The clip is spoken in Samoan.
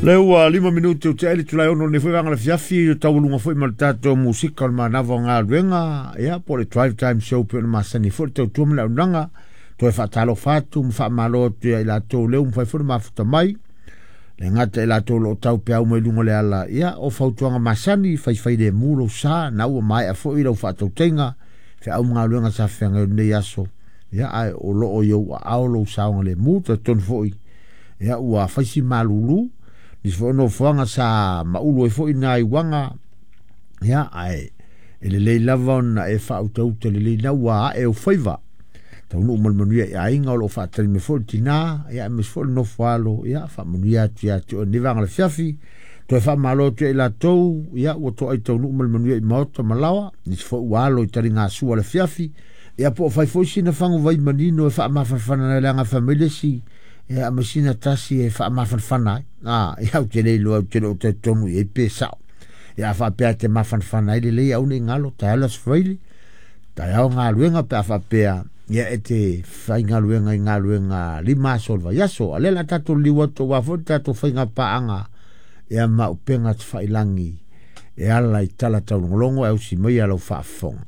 Le ua 5 minute o te aile tulai ono nei foi vanga le fiafi o taualuga foi ma le tatou musika o le manava o galuega, ia po o le drive time show pe ona masani foi le tautua ma le auaunaga. Toe faatalofa atu ma faamalo atu ia i latou lea ua mafai foi ona mafuta mai. Le gata i latou o lo o tau peau mai luga o le ala, ia o fautuaga masani, faifai lemu lou sa, na ua maea foi lau faatautaiga, feau ma galuega sa feagai o lenei aso, ia ae o lo o i ou aao lou saogalemu. Talitonu foi, ia ua fai si malulu, nisi foi o nofoaga sa maulu ai foi nai uaga, ia ae e lelei lava ona e faautauta lelei na ua ae ou faiva. Taunuu ma le manuia i aiga o lo o faatali mai foi le tina, ia aemaise foi le nofo alo, ia faamanuia atu ia te oe lenei vaega o le afiafi. Toe faamalo atu ia i latou, ia ua toai taunuu ma le manuia i maota ma laoa, nisi foi ua alo i taligasua le afiafi, ia po o fai foi sina faguvai manino e faamafanafana ai leaga fai mai le isi, ia ma sina tasi e faamafanafana ai. Ia ou te le iloa, ou te le o talitonu i ai pe sao. Ia a faapea e te mafanafana ai lelei au nei galo, taeao le Aso Faraile, taeao galuega pe a faapea ia e te faigaluega i galuega 5 aso o le vaiaso. A lea o le a tatou liliu atu aua foi le tatou faiga paaga ia ma upega tafailagi e ala i tala taulogologo e ausi mai lau faafofoga.